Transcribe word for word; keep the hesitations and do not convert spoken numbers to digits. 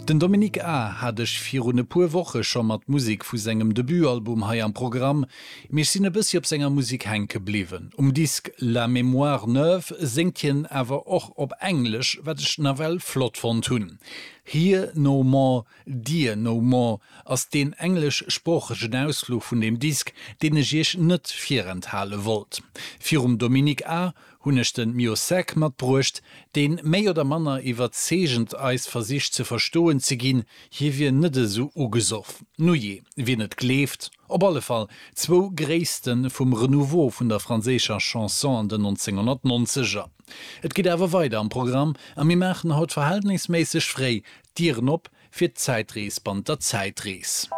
Den Dominique A hat ech virun e puer Woche scho mat Musek vu sengem Debutalbum hei am Programm, mee ech sinn e bëssi op senger Musek hänke bliwwen. Um Disk La Mémoire Neuve séngt hien awer och op Englesch, wat ech nawell flott fonnt hunn. Here No More, Dear No More ass deen engleschsproochegen Ausfluch vun deem Disk, deen ech iech net virenthale wollt. Virum Dominique A hunn ech de Miossec matbruecht, deen méi oder manner iwwerzeegend eis versicht ze verstoen ze ginn, hie wier net esou ugesoff. Nujee, wien et gleeft. Op alle Fall zwou Gréisste vum Renouveau vun der franséischer Chanson an den nonzénghonnertnonzeger. Et geet awer weider am Programm a mir maachen haut verhältnisméisseg fréi d'Dieren op fir d'Zäitrees bannent der Zäitrees.